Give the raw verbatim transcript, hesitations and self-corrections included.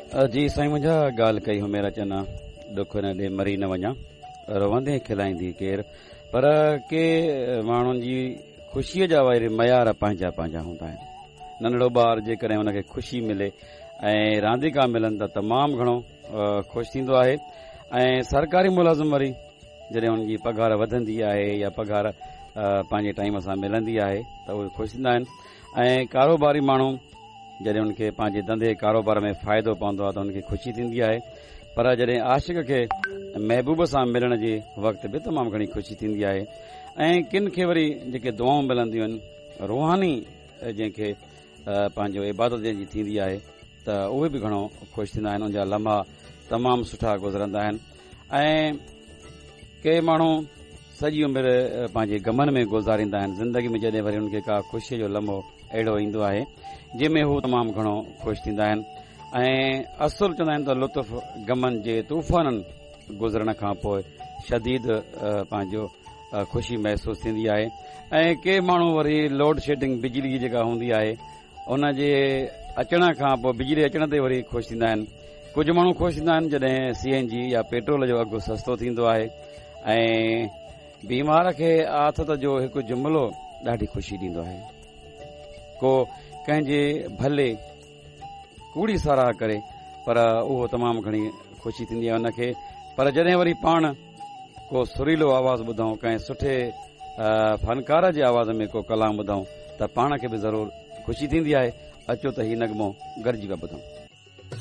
جي سائين منهنجا، ڳالهه ڪئي هميرا چنا، ڏک نه ڏي مري نه وڃان، روندي کلائيندي ڪير؟ پر ڪي ماڻهن جي خوشيء جا وري معيار پنهنجا پنهنجا هوندا آهن. ننڍڙو ٻار جيڪڏهن هن کي خوشي ملي ۽ رانديڪا ملن ته تمام گهڻو خوش ٿيندو آهي، ۽ سرڪاري ملازم وري جڏهن هن جي پگهار وڌندي آهي يا پگهار پنهنجي ٽائيم سان ملندي آهي ته اهي خوش ٿيندا آهن، ۽ ڪاروباري ماڻهو جڏهن هن کي پنهنجي ڌنڌي ڪاروبار ۾ فائدو پوندو آهي ته هن کي خوشي ٿيندي آهي. پر جڏهن عاشق کي محبوب سان ملڻ جي وقت به تمام گهڻي خوشي ٿيندي آهي، ۽ ڪن کي وري جيڪي دعائون ملنديون آهن روحاني جنهن کي پنهنجو عبادت جنهن جي ٿيندي آهي ته اهي به گهڻو خوش ٿيندا آهن، ان جا لمحا تمام سٺا گذرندا آهن. ۽ ڪي ماڻهو سڄي عمر پنهنجي غمن ۾ گذاريندا آهن، زندگي ۾ جڏهن وري انهن کي ڪا خوشيء جو لمحو اهڙو ايندو آهي جنهن ۾ هو تمام گهڻو خوش ٿيندا آهن. ۽ اصل چوندا آهن ته لطف غمن جي طوفانن گذرڻ کان پوء شديد پنهنجو خوشي محسوس ٿيندي آهي. ۽ ڪي ماڻهو وري لوڊ شيڊنگ بجلي جي جيڪا هوندي آهي ان جي اچڻ کان پوء بجلي اچڻ تي وري خوش ٿيندا آهن. ڪجهه ماڻهو خوش ٿيندا آهن جڏهن سي اين جي يا پيٽرول جو اگهه سستو ٿيندو آهي. ۽ بيمار کي آٿت جو هڪ جملو ڏاڍي خوشي ڏيندو آهي. ڪو ڪنهن جي ڀلي ڪوڙي ساراهه ڪري پر اهو تمام گهڻي خوشي ٿيندي آهي ان کي. پر جڏهن وري پاڻ ڪو سريلو آواز ٻڌون، ڪنهن سٺي فنڪار جي آواز ۾ ڪو ڪلام ٻڌون ته پاڻ کي به ضرور خوشي ٿيندي آهي. اچو ته هي نغمو گڏجي پيا ٻڌون.